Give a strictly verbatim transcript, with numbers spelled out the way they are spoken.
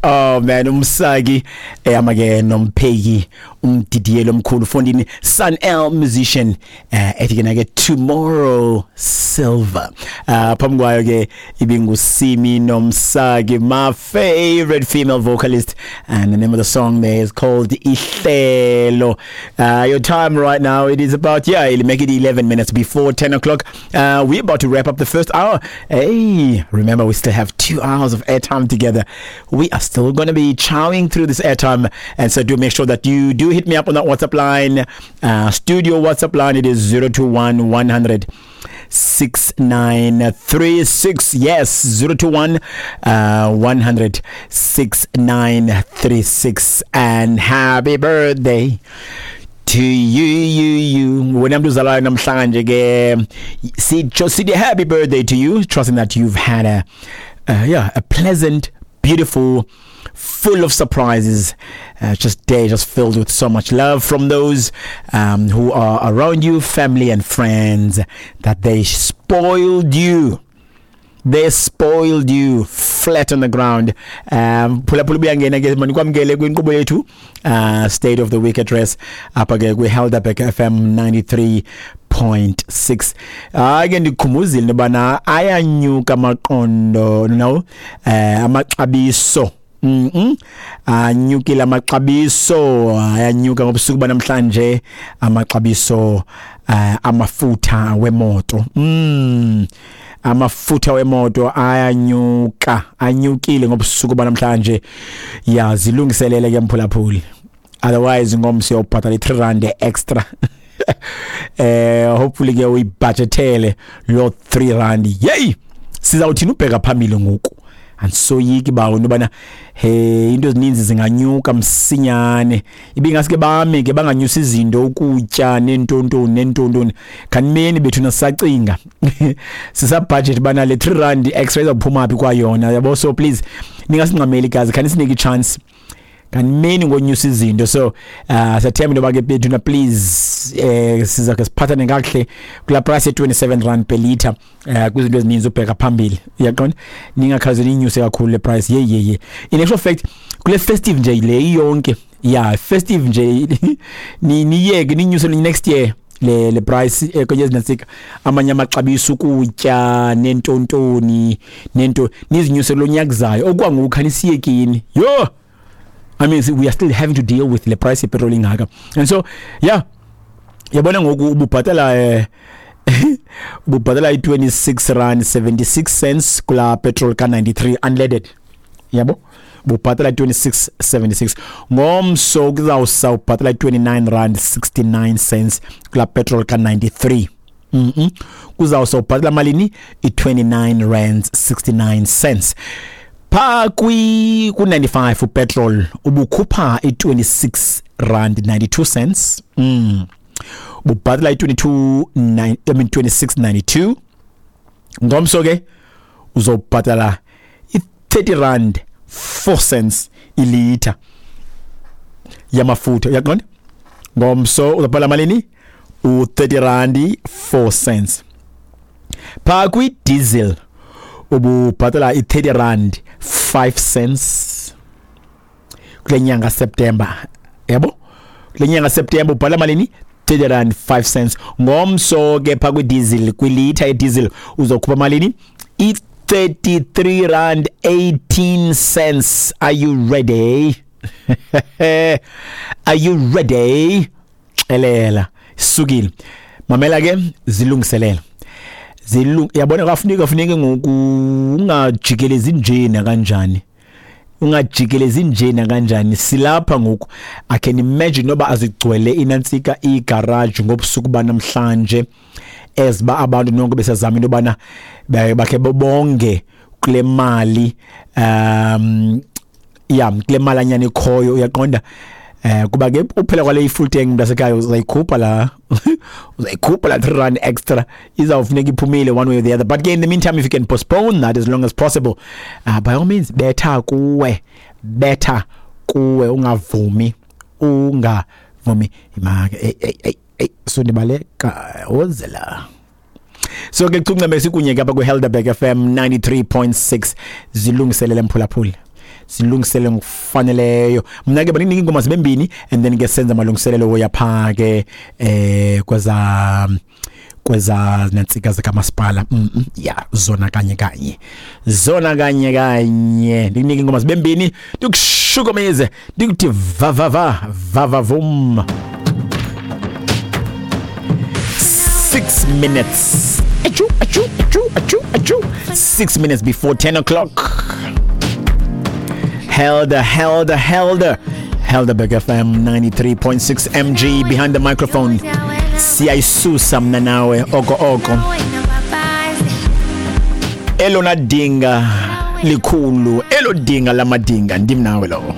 Oh man, umsaki ehamba ke nompheki, umdidiyelo omkhulu fondini, Sun El musician, eh ethi ke ke "Tomorrow Silver". Uh phambi kwayo ke ibinguSimi Nomsaki, my favorite female vocalist, and the name of the song there is called "Ihlelo". Uh your time right now, it is about, yeah, it'll make it eleven minutes before ten o'clock. Uh we're about to wrap up the first hour. Hey, remember, we still have two hours of airtime together. We are still going to be chowing through this airtime, and so do make sure that you do hit me up on that WhatsApp line, uh, studio WhatsApp line. It is zero two one one hundred six nine three six. Yes, zero two one uh, one hundred six nine three six. And happy birthday to you, you, you. Wena mntu uzalwayo namhlanje ke, sitsho sithi happy birthday to you, trusting that you've had a uh, yeah a pleasant, beautiful, full of surprises uh, just day, just filled with so much love from those um, who are around you, family and friends, that they spoiled you. They spoiled you flat on the ground. um phulaphula, ubuyangena ke, manikwamkele kwinkqubo yethu, uh State of the Week Address, apha ke kwi-Helderberg F M ninety-three point six. Hayi ke, ndikukhumbuzile into yobana ayanyuka amaqondo, no, eh amaxabiso. Mhm. Anyukile amaxabiso, ayanyuka ngobusuku banamhlanje amaxabiso uh, amafutha wemoto. Mm. Amafutha wemoto ayanyuka, anyukile ngobusuku banamhlanje. Ya, zilungiselele ke mphulaphuli. Otherwise ngomso uyobhatala i-three rand extra. eh hopefully ke uyibudgetele lo three rand. Yey! Sizawuthini ubheka phambili ngoku? Andisoyiki bawo into yobana he into ezininzi zinganyuka msinyane. Ibingaske bame ke banganyusi izinto, ukutya neentontoni neentontoni. Khanimeni bethu, nasisacinga sisabudget bana le three rand extra izawuphuma phi kwayona, yabo? So please ningasingxameli gazi, khanisinike ichance, kanimeni ngonyusa izinto. So uh siyathemba into yoba ke bethu na, please, eh siza ke siphathane kakuhle kula price ye twenty-seven rand per liter eh kwizinto ezininzi ubheka phambili, uyaqonda? Ningakhaze ninyuse kakhulu le price. Ye ye ye in actual fact, kule festive nje le iyonke, yeah, festive nje, ni niyeke ninyuse next year le le price, eh, kwenye ezinantsika amanye amaxabiso ukutya nentontoni nento, nizinyuse lo nyaka zayo. Okwangoku khanisiyekini. Yo, I mean, we are still having to deal with le price yepetrol ingaka. And so yeah, yabona ngoku ububhatala eh ububhatala i-twenty-six rand seventy-six cents kula petrol ka ninety-three unleaded, yabo? Bubhatala twenty-six seventy-six. Ngomso kuzawusa ubhatala twenty-nine rand sixty-nine cents kula petrol ka ninety-three. mhm kuzawusa ubhatala malini? I-twenty-nine rands sixty-nine cents. Pha kwi ku ninety-five upetrol ubukhupha i-twenty-six rand ninety-two cents. mm bubhatala i-twenty-two nine, I mean twenty-six ninety-two. Ngomso ke uzobhatala i-thirty rand four cents ilitha yamafutha, uyaqonda? Ngomso uzabhala malini? U-thirty rand four cents. Pha kwi-diesel ububhatala i-thirty rand five cents kule nyanga September, yabo? Kule nyanga September ubhala malini? thirty rand five cents. Ngomso ke pha kwi-diesel, kwilitha ye-diesel, uzokhupha malini? I-thirty-three rand eighteen cents. Are you ready? Are you ready? Xelela isukile. Mamela ke, zilungiselele, zilung yabona, kafuneka kufuneke ngoku ungajikelezi nje nakanjani, ungajikelezi nje nakanjani. Silapha ngoku. I can imagine noba azigcwele inantsika igarage ngobusuku banamhlanje, eziba abantu nonke besazama into yobana bakhe bonge kule mali, um ya, kule malanyana ikhoyo, uyaqonda? eh kuba ke uphela kwale full tank, mntasekhaya, uzayikhupha la uzayikhupha la three rand extra, izawufuneka iphumile one way or the other. But ke in the meantime, if you can postpone that as long as possible, uh, by all means, betha kuwe, betha kuwe, ungavumi, ungavumi. Imake, hey hey hey hey, so ndibaleka ozela. So ke kucungcembe sikunye ke apha kwi-Helderberg F M ninety-three point six. Zilungiselele mphulaphuli. Silungisele ngokufaneleyo. Mna ke baningi ingoma zibembini and then ke senza amalungiselelo woya pha ke eh kweza kweza nantsika zikamasipala. mm -mm, ya zona kanye kanye zona kanye kanye ndikunike ingoma zibembini, ndikushukumize, ndikuthi va va va va va vum. Six minutes achu achu achu achu achu six minutes before ten o'clock. Helder, Helder, Helder, Helderberg F M ninety-three point six M G behind the microphone. Siyayisusa mna nawe oko oko. Elona dinga likhulu, elo dinga lamadinga, ndim nawe lo.